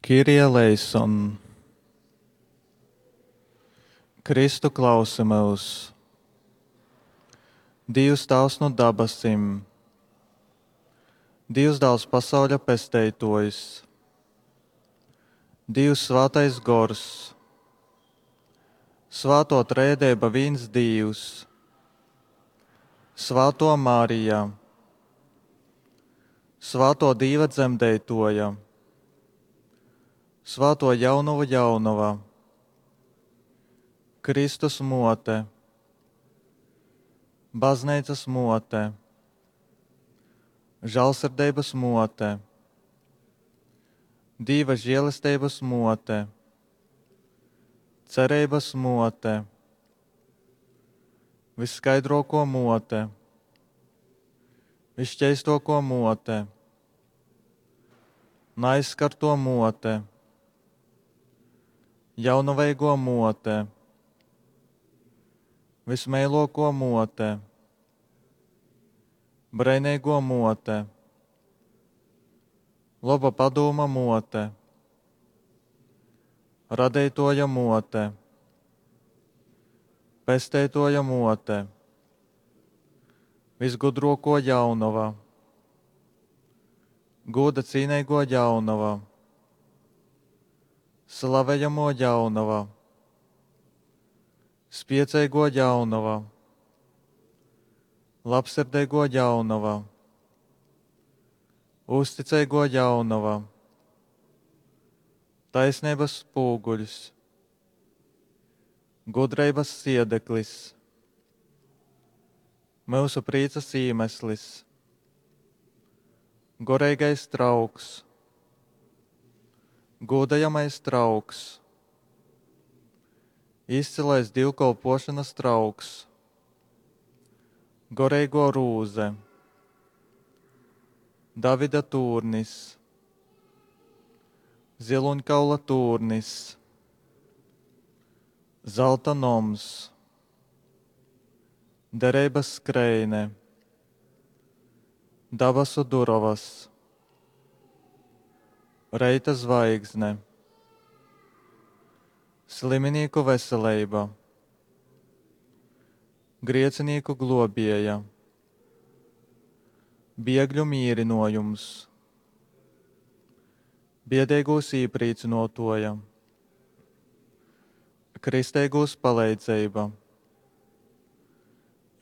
Kyrie eleison. Kristu klausi myus! Dīvs Tāvs nu dabasim, Dīvs Dāls pasauļa pesteituojs, Dīvs Svātais Gors, Svātuo Trejadeiba vīns Dīvs, Svātuo Marija, Svātuo Dīva dzemdeituoja, Svātuo Jaunovu Jaunova, Kristus muote, Bazneicas muote, Žālsirdeibys muote, Dīva žielesteibys muote, Cereibys muote, Vysskaidruokuo muote, Vysšķeistuokuo muote, Naaizskartuo muote, Jaunaveiguo muote, Vismeiluokuo muote, Breineiguo muote, Loba padūma muote, Radeituoja muote, Pesteituoja muote, Visgudruokuo jaunova, Gūda cīneiguo jaunova, Slavejamuo jaunova, Spieceiguo jaunova, Labsirdeiguo jaunova, Uzticeiguo jaunova, Taisneibys spūguļs, Gudreibys siedeklis, Myusu prīcys īmeslis, Goreigais trauks, Gūdojamais trauks, Izcilais dīvkolpuošonys trauks, Goreiguo rūze, Davida tūrnis, Ziluņkaula tūrnis, Zalta noms, Dereibys skreine, Dabasu durovys, Reita zvaigzne, Sliminīku veseleiba, Griecinīku gluobieja, Biegļu mīrynuojums, Biedeigūs īprīcynuotuoja, Kristeigūs paleidzeiba,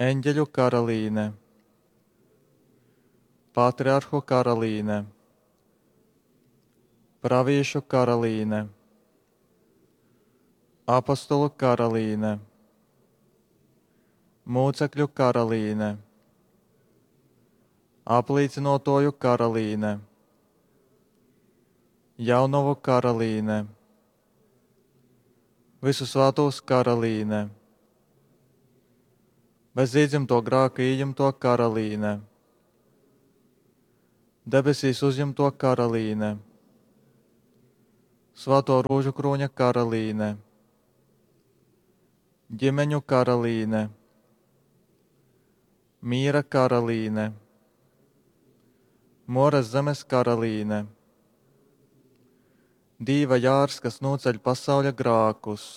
Eņģeļu karalīne, Patriarhu karalīne, Pravīšu karalīne, Apostolu karalīne, Mūcekļu karalīne, Aplīcynuotuoju karalīne, Jaunovu karalīne, Visu svātūs karalīne, Bez iedzimto grāka ījimto karalīne, Debesīs uzjimto karalīne, Svāto rožu kroņa karalīne, Ģimeņu karalīne, Miera karalīne, Moras zemes karalīne, Dīva jārs, kas noceļ pasauļa grākus.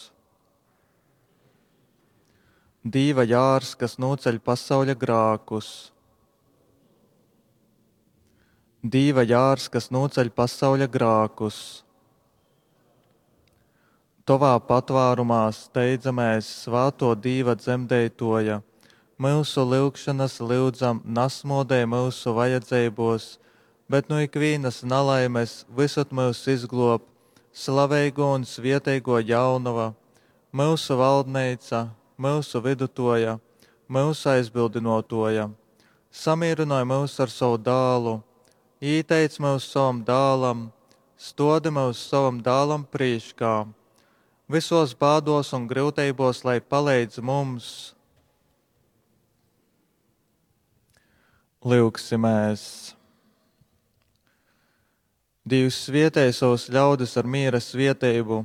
Dīva jārs, kas noceļ pasauļa grākus. Dīva jārs, kas noceļ pasauļa grākus. Tovā patvārumā steidzamēs, svāto Dīva dzemdeitoja, myusu lyugšanas lyudzam, nasmodē myusu vajadzeibos, bet nu ikvīnas nalaimes visad myus izglob, slaveigo un svieteigo jaunova, myusu valdneica, myusu vidutoja, myusu aizbildinotoja. Samīrynoj myus ar savu dālu, īteic myus savam dālam, stodi myus savam dālam prīškā. Visos bādos un gryuteibos, lai paleidz mums. Lyugsimēs! Dīvs svietej savus ļaudis ar miera svieteibu,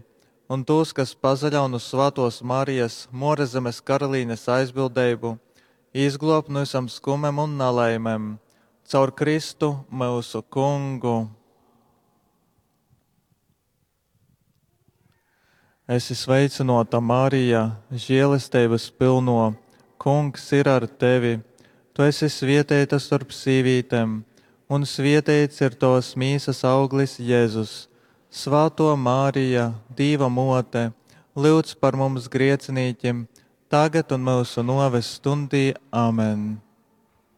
un tos, kas pazaļaun uz Svētos Marijas, Morezemes karalīnes aizbildeibu, izglob no visam skumem un nelaimēm. Caur Kristu mūsu kungu. Esi sveicynōta, Marija, želesteibas pylnō, Kungs ir ar tevi. Tu esi svieteita storp sīvītem, un svieteits ir tovas mīsas auglis Jezus. Svātō Marija, Dīva Mōte, lyudz par mums griecinīkim, tagad un myusu nōves stundī. Amen.